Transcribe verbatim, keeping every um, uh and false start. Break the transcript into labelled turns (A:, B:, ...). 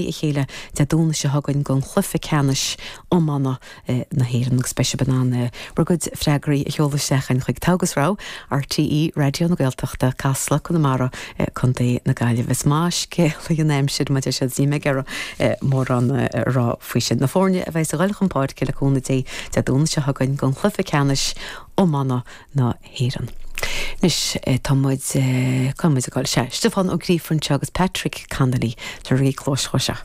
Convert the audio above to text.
A: a chéile Dé Domhnaigh seo chugainn don chluiche ceannais iomána na hÉireann agus beidh sibh in ann bhur gcuid freagraí a sheoladh isteach chuig Togha agus Rogha RTÉ Raidió na Gaeltachta Casla Conamara Contae na Gaillimhe. Is maith scéal an aimsir má sé ní mé ag mórán a rá faoi sin na foirne a bheidh ag dul chun páirce le cúnamh Dé Dé Domhnaigh seo chugainn don chluiche ceannais iomána na hÉireann. Anois tá muid muid ag se Stiofán Ó Gríofa agus Patrick Connolly tar rí clós seo.